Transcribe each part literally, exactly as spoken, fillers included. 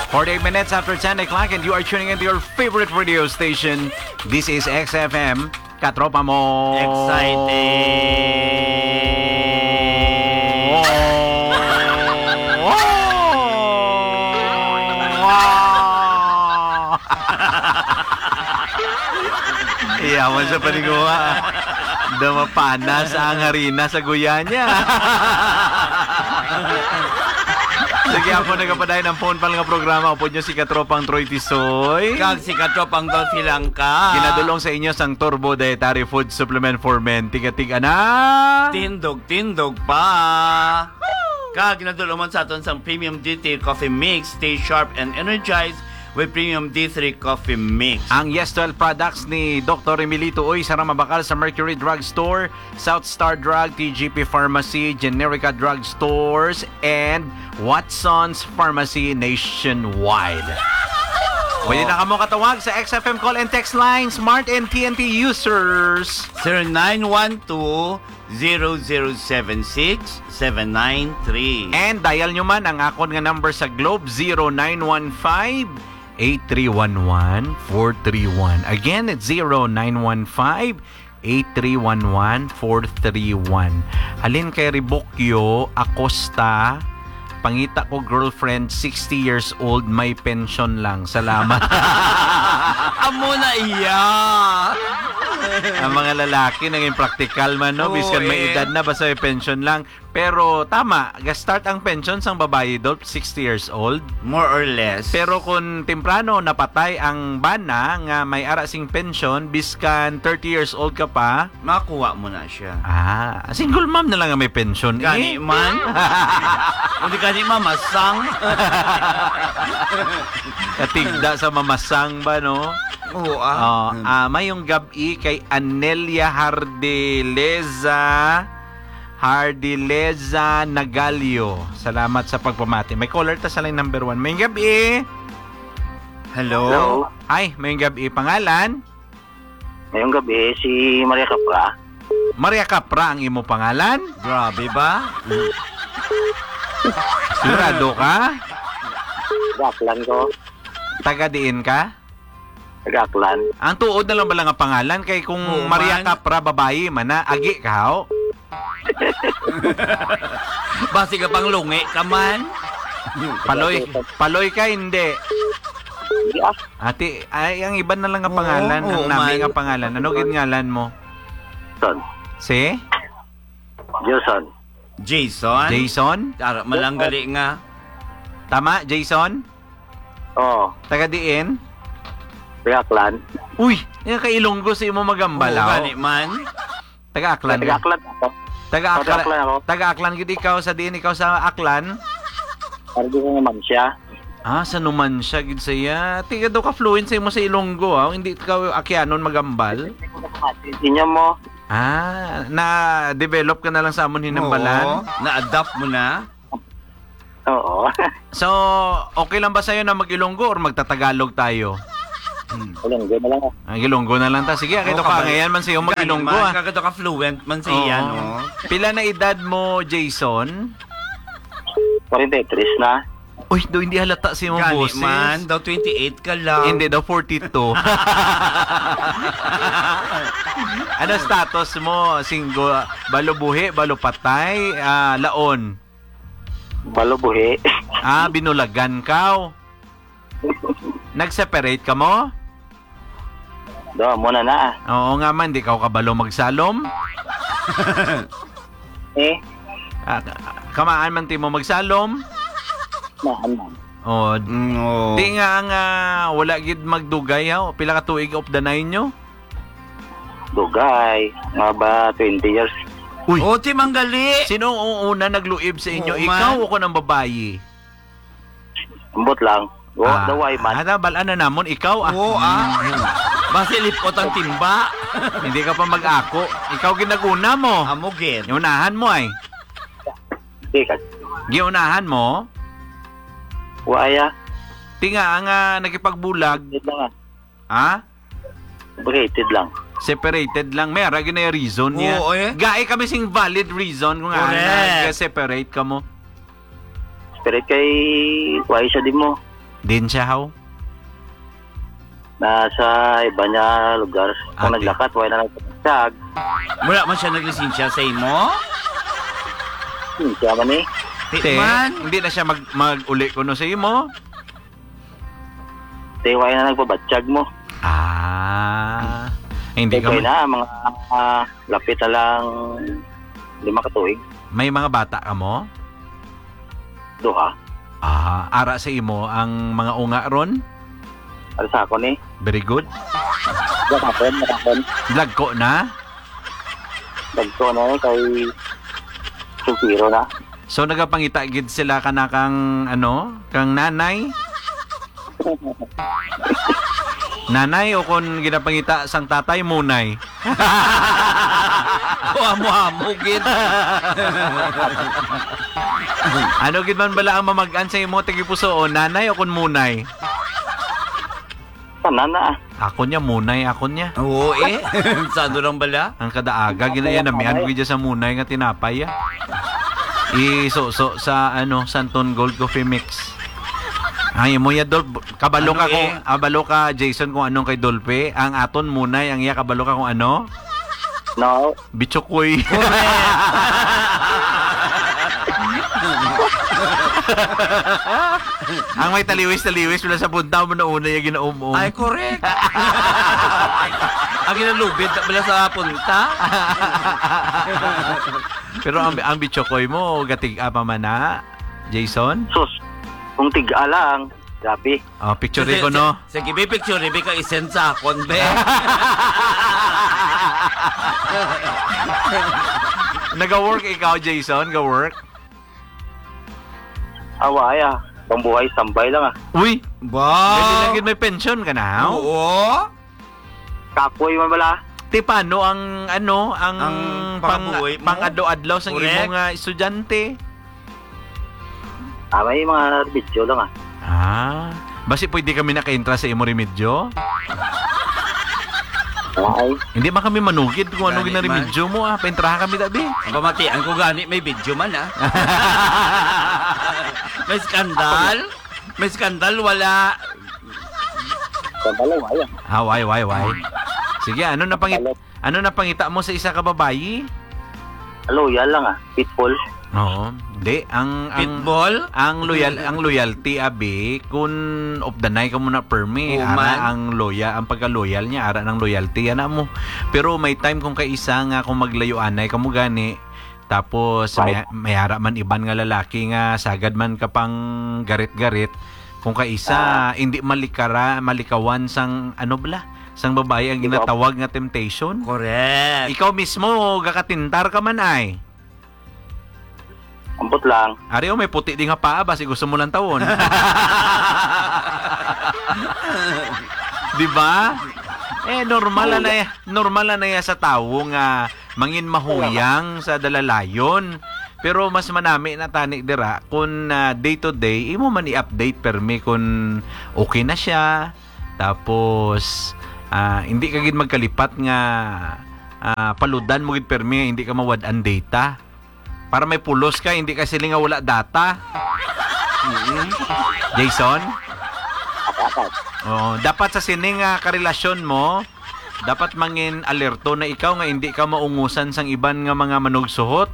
Forty-eight minutes after ten o'clock and you are tuning into your favorite radio station. This is X F M. Katropa mo. Exciting. Iya, man sa paniguha. Daw mapanas ang harina sa guyanya. Sige, ako nagapadayon ang phone pal nga programa. Upod nyo si Katropang Troy Tisoy. Kag si Katropang Dolphy Langka. Ginadulong sa inyo sang Turbo Dietary Food Supplement for Men. Tiga-tiga na. Tindog-tindog pa. Kag ginadulong man sa aton sang Premium D three Coffee Mix. Stay sharp and energized with Premium D three Coffee Mix. Ang Yes twelve products ni Doktor Emilito Uy, sarang mabakal sa Mercury Drug Store, South Star Drug, T G P Pharmacy, Generica Drug Stores, and Watson's Pharmacy nationwide. Pwede na kamo katawag sa X F M call and text line, Smart and T N T users. Zero nine one two, zero zero seven six, seven nine three. And dial nyo man ang akon nga number sa Globe, zero nine one five, eight three one one, four three one. Again, it's zero nine one five, eight three one one, four three one. Halin kay Rebukyo Acosta, pangita ko girlfriend, sixty years old, may pension lang. Salamat. Amo na iya. Ang mga lalaki naging praktikal man, no? Oo, biskan may eh. Edad na, basta may pension lang. Pero tama, ga-start ang pension sang babayi, Dolph, sixty years old. More or less. Pero kung temprano napatay ang bana nga may ara sing pension, biskan thirty years old ka pa, makuha mo na siya. Ah, single mom na lang nga may pension, eh. Gani man. Kung di gani mamasang. Katigda sa mamasang ba, no? Oo, ah. Oh, Hmm. ah, mayong gab-i kay Anelia Hardeleza. Hardileza Nagalio. Salamat sa pagpamati. May caller ta sa line number one. Mayong gab-i. Hello? Hello. Ay, mayong gab-i. Pangalan? Mayong gab-i, si Maria Capra. Maria Capra ang imo pangalan? Grabe ba? Sigurado ka? Gaklan ko. Taga diin ka? Taga Aklan. Ang tuod na lang bala nga pangalan kay kung Oo, Maria man. Capra, babayi man na, agi ka, haw? Basi ka pang lungi ka man. Paloy, paloy ka, hindi. Hindi, ah. Ati, ay, ang iban na lang nga Oo, pangalan, ang oo, nami man. Nga pangalan. Ano gid ngalan mo? Son. Si? Jason. Jason? Jason? Tara, malanggali nga. Tama, Jason? Oo. Taga diin? Taga Aklan. Uy, nga ka-Ilonggo sa imo magambal, Oo, haw? Gani man. Taga Aklan Taga ka? Aklan ako. Taga Taga Akla-, Aklan ako. Taga Aklan gid ikaw, sa diin ikaw sa Aklan? Argo ko naman siya. Ah, sa Numancia gid siya. Tiga daw ka fluent sa imo sa Ilonggo, ah. Hindi ka Akyanon magambal? Inyo mo. Ah, na-develop ka na lang sa amon hinambalan? Oo, na-adapt mo na? Oo. So, okay lang ba sa'yo na mag-Ilonggo or magtatagalog tayo? Hmm. Ilonggo na lang. Ah, Ilonggo na lang ta. Sige, kay Oo, to ka kabal-, angayan man sa iyo gani mag-Ilonggo, man, ah. Kay to ka fluent man sa Oo. Iya, no? Pila na edad mo, Jason? Forty-three na. Uy, daw hindi halata sa imong Gani boses. Man, daw twenty-eight ka lang. Hindi, daw forty-two. Ano status mo? Single, balo buhi, balo patay, ah, laon? Balo buhi. Ah, binulagan ka, oh. Nag-separate ka mo? Do, muna na, ah. Oo nga man, di ka kabalo magsalom. Eh? Ah, kamaan man ti mo magsalom? Maan man. Oh, Mm, oo. Di nga ang, ah, wala gid magdugay, ha? Pila ka tuig of the nine nyo? Dugay. Nga ba, twenty years? Uy. Oh, ti manggali. Sino ang una nagluib sa inyo? Oo, Ikaw man. O ko ng babayi? Ambot lang. Wa, Ah, daway man. Ada, bal-an na namon, ikaw, ah. Oo, ah. Mm. Basi lipot ang timba. Hindi ka pa mag-ako. Ikaw ginaguna mo. Amo gid. Unahan mo ay. Di ka. Giunahan mo? Wa ya. Ti nga, ang, ah, nakipagbulag. Wait lang, ah. Ha? Complicated lang. Separated lang. May ara gyud na reason niya. Oo, eh. Gai kami sing valid reason kung ano Correct. Nag-separate ka mo. Separate kay wa siya di mo. Din siya, haw? Nasa iba niya lugar. Kung Ate. naglakat, wala na nagpasag. Wala man siya naglisensya sa imo? Hindi siya man eh. Di Te, man. hindi na siya mag-, mag-uli kuno sa imo? Te, wala na nagpabatyag mo. Ah, hindi Te, ka wala ma- na, mga, ah, lapit na lang lima ka tuig. May mga bata ka mo? Duha. Ah, ara sa imo ang mga unga ron? Ara sa akon eh. Very good. Duha ka pon, duha ka pon. Dagko na? Dagko na eh, kay sultiro na. So, nagapangita gid sila kana kang, ano, kang nanay? Nanay, o kon ginapangita sang tatay, munay? Kuha mo, amo gid. Ano gid man bala ang mamag-an sa imo, tagipusoon, nanay o kon munay? Tanan na, ah. Ako niya, munay, ako niya. Oo, eh. Sado lang bala? Ang kadaaga, Ako ginaya lang, na, miyan ako. ko dyan sa munay nga tinapay, ah. Isuso sa, ano, Santon Gold Coffee Mix. Ang imo ya, Dolph, kabalo Ano, ka kung, eh? kabalo ka, Jason, kung anong kay Dolphy. Ang aton munay, ang iya, kabalo ka kung ano? No. Bichokoy. Correct. Ang may taliwis-taliwis, wala sa punta mo na una yung ginaum-um. Ay, correct. Ang ginalubid, wala sa punta. Pero ang, ang bichokoy mo, gatig-a pa man na, Jason? Sus, kung tig-a lang, grabe. Oh, picture Sige, ko, no? sige, sige, be, picture, be, ka i-send sa akon, be. Naga-work ikaw, Jason? Ga-work? Awa, ay, ah. Pambuhay, tambay lang, ah. Uy! Wow! Dali lagi may pension ka na, oh? Oo. Kapoy man bala. Ti, paano ang, ano, ang Ang pang-, pakabuhi mo? pang-adlaw-adlaw sang Correct. imo nga estudyante? Ah, may mga video lang, ah. Ah, basi pwede kami nakaintra sa imo remedyo? Ay. Hindi man kami manugid kung ano Gani man. ginaremedyo mo, ah. Paintrahan kami, tabi. Ang pamatian ko gani, may video man, ah. May skandal? May skandal? Wala. Skandal, wala. Ah, why, why, why? Sige, ano na pangit-, Skandal. ano na pangita mo sa isa ka babayi? Loyal lang, ah. Pitbull. Oo. Di, ang, ang, Pitbull? ang loyal, ang loyalty, abi, kun updanay ka muna permi, Woman. ara ang loyal, ang pagka-loyal niya, ara ng loyalty, ana mo. Pero may time kung kaisa nga kung maglayuanay ka mo gani, tapos Right. may, may ara man iban nga lalaki nga sagad man ka pang garit-garit, kung kaisa, Ah. hindi malikara, malikawan sang, ano bala, sang babayi ang Ikaw. ginatawag nga temptation. Correct. Ikaw mismo, gakatintar ka man ay. Ambot lang. Ari, oh, may puti di nga paa, basi gusto mo lang tawon. Di ba? Eh, normal Oo. na ya-, normal na ya sa tawo nga mangin mahuyang sa dalalayon. Pero mas manami na tani dira kun, ah, day to day, imo man i-update permi kun okay na siya. Tapos, ah, hindi ka gid magkalipat nga, ah, paludan mo gid permi nga hindi ka mawad-an data. Para may pulos ka, hindi ka siling nga wala data. Mm. Jason? Dapat. Oo, dapat sa sining, ah, karelasyon mo, dapat mangin alerto na ikaw nga hindi ka maungusan sang iban nga mga manugsuhot.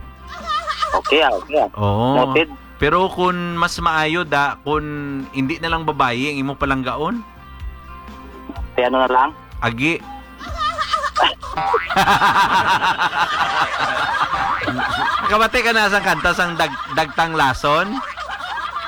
Okay, ah, okay, ah. Oo. Noted. Pero kun mas maayo da, kun hindi na lang babayi ang imo palanggaon. Kaya ano na lang? Agi. Kabati ka na sang kanta sang dag-, Dagtang Lason?